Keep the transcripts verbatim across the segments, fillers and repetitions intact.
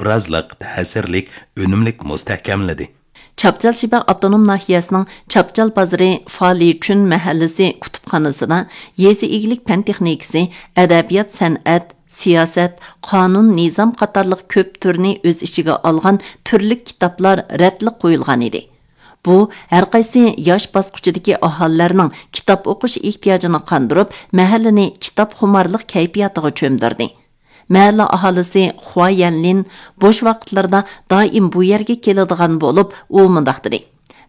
ئوبرازلىق، تەسىرلىك، ئۈنۈملۈك مۇستەھكەملىدى. چاپچال شىبە ئاپتونوم ناھىيەسىنىڭ چاپچال بازىرى فالىچۈن مەھەللىسى كۇتۇپخانىسىدا يېزا ئىگىلىك پەن تېخنىكىسى، ئەدەبىيات، سەنئەت، سىياسەت، قانۇن، نىزام قاتارلىق كۆپ تۈرنى ئۆز ئىچىگە ئالغان تۈرلۈك كىتابلار رەتلىك قويۇلغان ئىدى. بۇ ھەرقايسى ياش باسقۇچىدىكى ئاھالىلەرنىڭ كىتاب ئوقۇش ئېھتىياجىنى قاندۇرۇپ، مەھەللىنى كىتابخۇمارلىق كەيپىياتىغا چۆمدۈردى. مەھەللە ئاھالىسى خۇا يەنلىن بوش ۋاقىتلىرىدا دائىم بۇ يەرگە كېلىدىغان بولۇپ، ئۇ مۇنداق دېدى: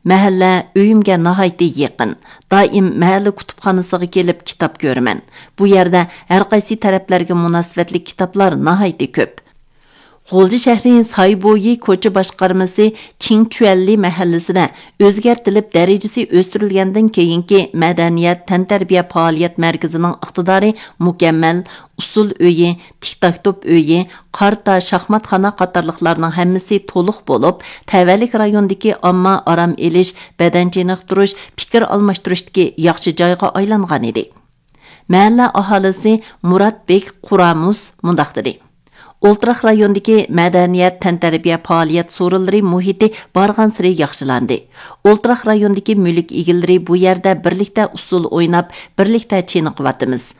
«مەھەللە ئۆيۈمگە ناھايىتى يېقىن. دائىم مەھەللە كۇتۇپخانىسىغا كېلىپ كىتاب كۆرىمەن. بۇ يەردە ھەرقايسى تەرەپلەرگە مۇناسىۋەتلىك كىتابلار ناھايىتى كۆپ.» غۇلجا شەھىرى سايبويى كوچا باشقارمىسى چىڭچۈەنلى مەھەللىسىدە ئۆزگەرتىلىپ دەرىجىسى ئۆستۈرۈلگەندىن كېيىنكى مەدەنىيەت تەنتەربىيە پائالىيەت مەركىزىنىڭ ئىقتىدارى مۇكەممەل، ئۇسسۇل ئۆيى، تىكتاكتوپ ئۆيى، قارتا شاھماتخانا قاتارلىقلارنىڭ ھەممىسى تولۇق بولۇپ، تەۋەلىك رايوندىكى ئامما ئارام ئېلىش، بەدەن چېنىقتۇرۇش، پىكىر ئالماشتۇرۇشتىكى ياخشى جايغا ئايلانغان ئىدى. مەھەللە ئاھالىسى مۇرات بېك قۇرامۇس مۇنداق دېدى: «ئولتۇراق رايوندىكى مەدەنىيەت، تەنتەربىيە پائالىيەت سورۇنلىرى مۇھىتى بارغانسېرى ياخشىلاندى. ئولتۇراق رايوندىكى مۈلۈك ئىگىلىرى بۇ يەردە بىرلىكتە ئۇسسۇل ئويناپ، بىرلىكتە چېنىقىۋاتىمىز.»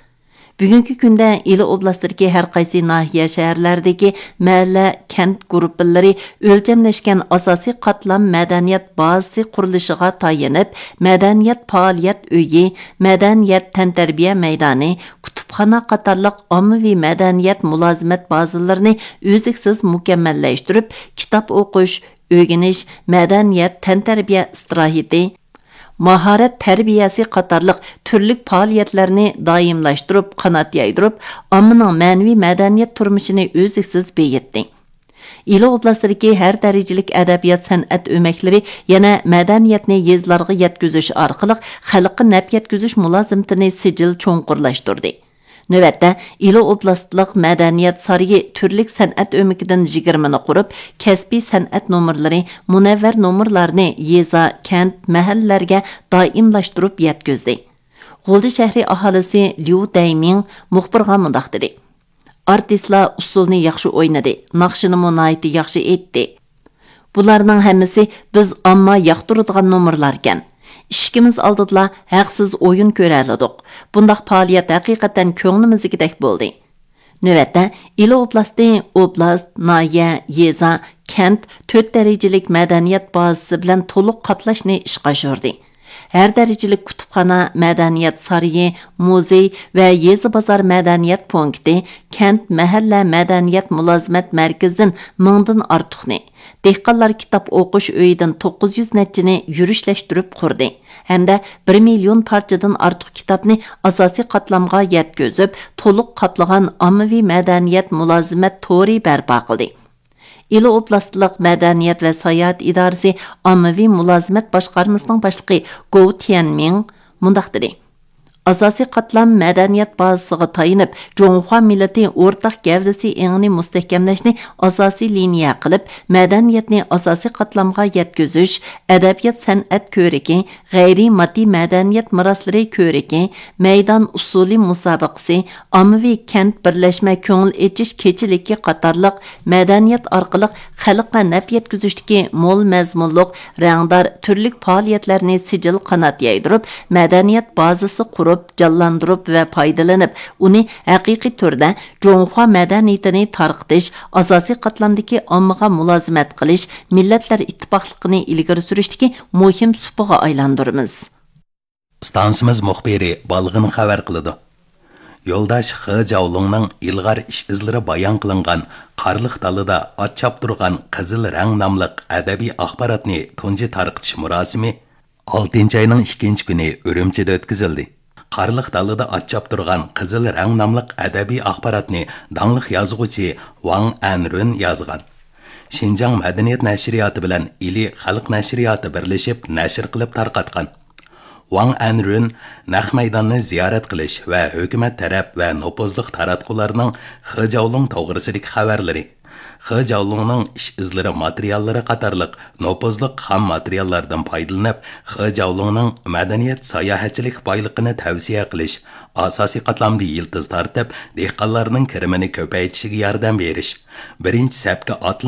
بۈگۈنكى كۈندە ئىلى ئوبلاستىدىكى ھەر قايسى ناھىيە، شەھەرلەردىكى مەھەللە، كەنت گۇرۇپپىلىرى ئۆلچەملەشكەن ئاساسىي قاتلام مەدەنىيەت بازىسى قۇرۇلۇشىغا تايىنىپ، مەدەنىيەت پائالىيەت ئۆيى، مەدەنىيەت تەنتەربىيە مەيدانى، كۇتۇپخانا قاتارلىق ئاممىۋى مەدەنىيەت مۇلازىمەت بازىلىرىنى ئۈزلۈكسىز مۇكەممەللەشتۈرۈپ، كىتاب ئوقۇش، ئۆگىنىش، مەدەنىيەت، تەنتەربىيە ئىستىراھىتى، ماھارەت تەربىيەسى قاتارلىق تۈرلۈك پائالىيەتلەرنى دائىملاشتۇرۇپ، قانات يايدۇرۇپ، ئاممىنىڭ مەنىۋى مەدەنىيەت تۇرمۇشىنى ئۈزلۈكسىز بېيىتتى. ئىلى ئوبلاستىدىكى ھەر دەرىجىلىك ئەدەبىيات، سەنئەت ئۆمەكلىرى يەنە مەدەنىيەتنى يېزىلارغا يەتكۈزۈش ئارقىلىق خەلققە نەپ يەتكۈزۈش مۇلازىمىتىنى سىجىل چوڭقۇرلاشتۇردى. نۆۋەتتە، ئىلى ئوبلاستلىق مەدەنىيەت سارىيى تۈرلۈك سەنئەت ئۆمىكىدىن يىگىرمىنى قۇرۇپ، كەسپىي سەنئەت نومۇرلىرى، مۇنەۋۋەر نومۇرلارنى يېزا، كەنت، مەھەللىلەرگە دائىملاشتۇرۇپ يەتكۈزدى. غۇلجا شەھىرى ئاھالىسى ليۇ دەيمىڭ مۇخبىرغا مۇنداق دېدى: «ئارتىسلار ئۇسسۇلنى ياخشى ئوينىدى، ناخشىنىمۇ ناھايىتى ياخشى ئېيتتى. بۇلارنىڭ ھەممىسى بىز ئامما ياقتۇرىدىغان نومۇرلاركەن. ئىشىكىمىز ئالدىدىلا ھەقسىز ئويۇن كۆرەلىدۇق. بۇنداق پائالىيەت ھەقىقەتەن كۆڭلىمىزدىكىدەك بولدى.» نۆۋەتتە، ئىلى ئوبلاستى ئوبلاست، ناھىيە، يېزا، كەنت تۆت دەرىجىلىك مەدەنىيەت بازىسى بىلەن تولۇق قاتلاشنى ئىشقا ئاشۇردى. ھەر دەرىجىلىك كۇتۇپخانا، مەدەنىيەت سارىيى، مۇزېي ۋە يېزا بازار مەدەنىيەت پونكىتى، كەنت، مەھەللە مەدەنىيەت مۇلازىمەت مەركىزىدىن مىڭدىن ئارتۇقنى، دېھقانلار كىتاب ئوقۇش ئۆيىدىن توققۇز يۈز نەچچىنى يۈرۈشلەشتۈرۈپ قۇردى ھەمدە بىر مىليون پارچىدىن ئارتۇق كىتابنى ئاساسىي قاتلامغا يەتكۈزۈپ، تولۇق قاتلىغان ئاممىۋى مەدەنىيەت مۇلازىمەت تورى بەرپا قىلدى. ئىلى ئوبلاستلىق مەدەنىيەت ۋە ساياھەت ئىدارىسى ئاممىۋى مۇلازىمەت باشقارمىسىنىڭ باشلىقى گوۋ تيەنمىڭ مۇنداق دېدى: «ئاساسىي قاتلام مەدەنىيەت بازىسىغا تايىنىپ، جۇڭخۇا مىللىتى ئورتاق گەۋدىسى ئېڭىنى مۇستەھكەملەشنى ئاساسىي لىنىيە قىلىپ، مەدەنىيەتنى ئاساسىي قاتلامغا يەتكۈزۈش، ئەدەبىيات-سەنئەت كۆرىكى، غەيرىي ماددىي مەدەنىيەت مىراسلىرى كۆرىكى، مەيدان ئۇسسۇلى مۇسابىقىسى، ئاممىۋى كەنت بىرلەشمە كۆڭۈل ئېچىش كېچىلىكى قاتارلىق مەدەنىيەت ئارقىلىق خەلققە نەپ يەتكۈزۈشتىكى مول مەزمۇنلۇق، رەڭدار، تۈرلۈك پائالىيەتلەرنى سىجىل قانات يايدۇرۇپ، مەدەنىيەت بازىسى قۇرۇپ، جانلاندۇرۇپ ۋە پايدىلىنىپ، ئۇنى ھەقىقىي تۈردە جۇڭخۇا مەدەنىيىتىنى تارقىتىش، ئاساسىي قاتلامدىكى ئاممىغا مۇلازىمەت قىلىش، مىللەتلەر ئىتتىپاقلىقىنى ئىلگىرى سۈرۈشتىكى مۇھىم سۇپىغا ئايلاندۇرىمىز.» ئىستانسىمىز مۇخبىرى بالغىن خەۋەر قىلىدۇ. يولداش خې جاۋلۇڭنىڭ ئىلغار ئىش ئىزلىرى بايان قىلىنغان قارلىق دالىدا ئات چاپتۇرغان قىزىل رەڭ ناملىق ئەدەبىي ئاخباراتنى تۇنجى تارقىتىش مۇراسىمى ئالتىنچى ئاينىڭ ئىككىنچى كۈنى ئۈرۈمچىدە ئۆتكۈزۈلدى. قارلىق دالىدا ئات چاپتۇرغان قىزىل رەڭ ناملىق ئەدەبىي ئاخباراتنى داڭلىق يازغۇچى ۋاڭ ئەنرۈن يازغان. شىنجاڭ مەدەنىيەت نەشرىياتى بىلەن ئىلى خەلق نەشرىياتى بىرلىشىپ نەشر قىلىپ تارقاتقان. ۋاڭ ئەنرۈن نەق مەيداننى زىيارەت قىلىش ۋە ھۆكۈمەت تەرەپ ۋە نوپۇزلۇق تاراتقۇلارنىڭ خې جاۋلۇڭ توغرىسىدىكى خەۋەرلىرى، خې جاۋلۇڭنىڭ ئىش ئىزلىرى ماتېرىياللىرى قاتارلىق نوپۇزلۇق خام ماتېرىياللاردىن پايدىلىنىپ، خې جاۋلۇڭنىڭ مەدەنىيەت ساياھەتچىلىك بايلىقىنى تەۋسىيە قىلىش، ئاساسىي قاتلامدا يىلتىز تارتىپ، دېھقانلارنىڭ كىرىمىنى كۆپەيتىشىگە ياردەم بېرىش، بىرىنچى سەپكە ئاتلىق